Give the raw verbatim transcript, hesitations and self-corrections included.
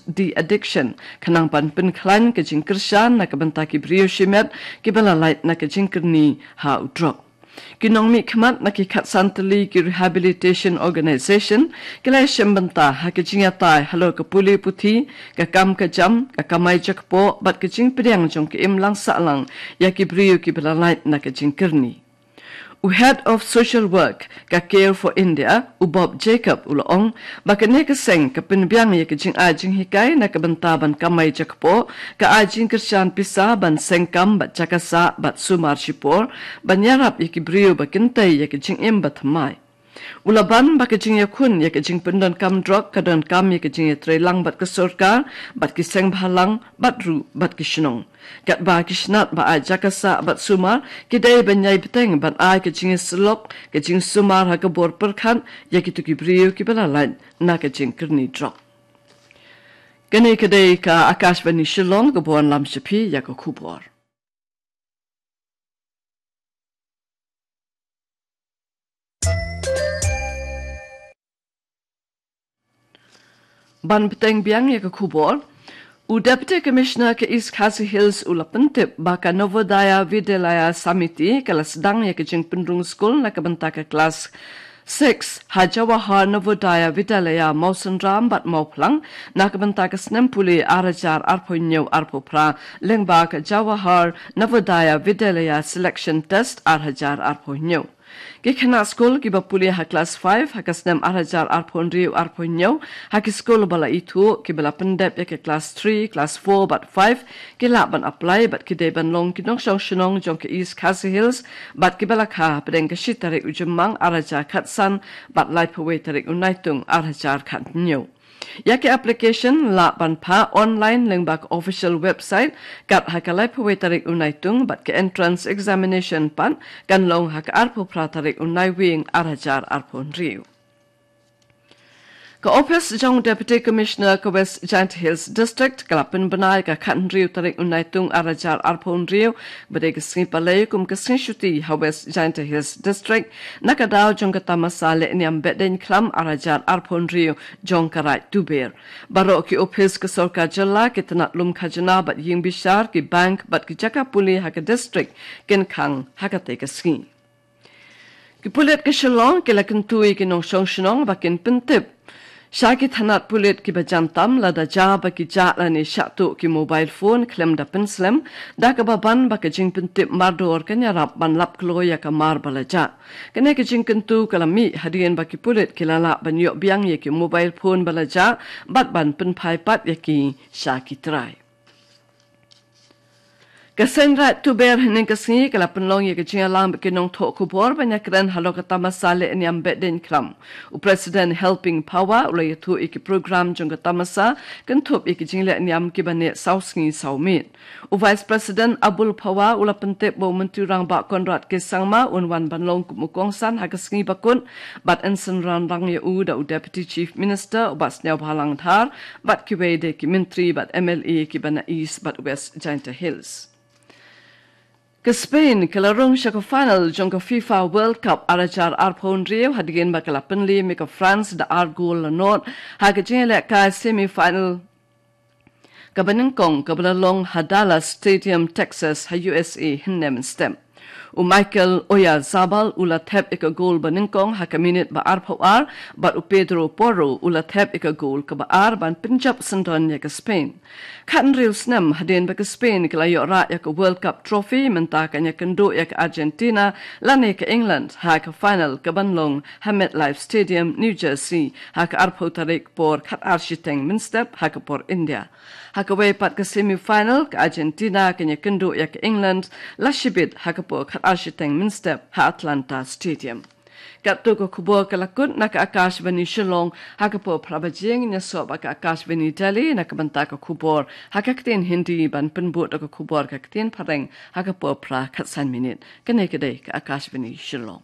de-addiction, khnang ban pynkhlaiñ ka jingkyrshan na ka bynta ki briew shimet kiba la lait na ka jingkyrni ha u drok. Ki nongmihkhmat na ki khatsan tylli ki rehabilitation organization ki la ïashem bynta ha ka jingïatai halor ka pule puthi, ka kam ka jam, ka kamai jakpoh bad ka jingpdiang jong ka imlang sahlang ïa ki briew kiba la lait na ka jingkyrni. U Head of Social Work ka Care for India, u Bob Jacob, u la ong ba kane ka seng ka pynbiang ïa ka jingai jinghikai na ka bynta ban kamai jakpoh, ka ai jingkyrshan pisa ban seng kam bad jaka sah bad sumar shipor, ban ïarap ïa ki briew ba kyntei ïa ka jingim ba thymmai. U la ban ba ka jingïakhun ïa ka jingpyndonkam drok ka donkam ïa ka jingïatreilang bad ka sorkar, bad ki seng bhalang, bad ruh bad ki shnong. Katba ki shnat ba ai jaka sah bad sumar ki dei ban ïai bteng ban ai ka jingïasyllok, ka jingsumar ha ka bor pyrkhat ïa kito ki briew kiba la lait na ka jingkyrni drok. Kane ka dei ka Akashvani Shillong kaba wanlam sha phi ïa ka khubor. Ban bteng biang ïa ka khubor, u Deputy Commissioner ka East Khasi Hills u la pyntip ba ka Navodaya Vidyalaya Samiti ka la sdang ïa ka jingpynrung skul na ka bynta ka klas six ha Jawahar Navodaya Vidyalaya Mawsynram bad Mawphlang na ka bynta ka snem pule ar hajar arphew hynñiew arphew phra lyngba ka Jawahar Navodaya Vidyalaya Selection Test ar hajar arphew hynñiew. Ki khynnah skul kiba pule ha klas five ha ka snem ar hajar arphew hynriew arphew hynñiew ha ki skul ba la ithuh kiba la pyndep ïa ka klas three, klas four bad five ki lah ban apply bad ki dei ban long ki nongshong shnong jong ka East Khasi Hills bad kiba la kha hapdeng ka shi tarik u Jymmang ar hajar khatsan bad laiphew wei tarik u Naitung ar hajar khathynñiew. Ïa ki application lah ban phah online lyngba ka official website kat ha ka laiphew wei tarik u Naitung bad ka entrance examination pat kan long ha ka arphew phra tarik u Naiwieng ar hajar arphew hynriew. Ka ophis jong Deputy Commissioner ka West Jaintia Hills District ka la pynbna ïa ka khathynriew tarik u Naitung ar hajar arphew hynriew ba dei ka sngi Palei kum ka sngi shuti ha West Jaintia Hills District na ka daw jong ka tamasa lehniam Behdeiñkhlam ar hajar arphew hynriew jong ka Raid Tuber. Baroh ki ophis ka sorkar jylla, ki tnat lum khajna bad ïing bishar, ki bank bad ki jaka pule ha ka district kin khang ha katei ka sngi. Ki pulit ka Shillong ki la kyntu ïa ki nongshong shnong ba kin pyntip sha ki tnat pulit kiba jan tam lada jia ba ki jah lane shah tuh ki mobile phone khlem da pynslem, da kaba ban ba ka jingpyntip mardor kan ïarap ban lap kloi ïa ka mar ba la jah. Kane ka jingkyntu ka la mih hadien ba ki pulit ki la lah ban ïoh biang ïa ki mobile phone ba la jah bad ban pynphai pat ïa ki sha ki trai. Ka seng Raid Tuber hynnin ka sngi ka la pynlong ïa ka jingïalang bad ki nongthoh khubor ban ïakren halor ka tamasa lehniam Behdeiñkhlam. U President Helping Phawa u la ïathuh ïa ki program jong ka tamasa kynthup ïa ki jinglehniam kiba neh saw sngi saw miet. U Vice President Abul Phawa u la pyntip ba u Myntri Rangbah Conrad K Sangma un wan ban long kum u kongsan ha ka sngi bakut bad yn synran lang ïa u da u Deputy Chief Minister u Bah Sniawbhalang Dhar bad kiwei de ki myntri bad M L A kiba na East bad West Jaintia Hills. Ka Spain ka la rung sha ka final jong ka FIFA World Cup ar hajar arphew hynriew hadien ba ka la pynliem ïa ka France da ar gol la nod ha ka jingïalehkai semi final kaba nyngkong kaba la long ha Dallas Stadium, Texas, ha U S A hynne mynstep. U Mikel Oyarzabal u la thep ïa ka gol ba nyngkong ha ka minit ba arphew ar bad u Pedro Porro u la thep ïa ka gol kaba ar ban pynjop syndon ïa ka Spain. Khathynriew snem hadien ba ka Spain ka la ïoh rah ïa ka World Cup Trophy mynta kan ïakynduh ïa ka Argentina lane ka England ha ka final kaban long ha MetLife Stadium, New Jersey ha ka arphew tarik por khatar shiteng mynstep ha ka por India. Ha kawei pat ka semi final ka Argentina kan ïakynduh ïa ka England la shibit ha ka por khatar shiteng mynstep ha Atlanta Stadium. Katto ka khubor ka la kut na ka Akashvani Shillong, ha ka por phra baje ngin ïasoh bad ka Akashvani Delhi na ka bynta ka khubor ha ka ktien Hindi ban pynbud da ka khubor ka ktien Phareng ha ka por phra khatsan minit. Kane ka dei ka Akashvani Shillong.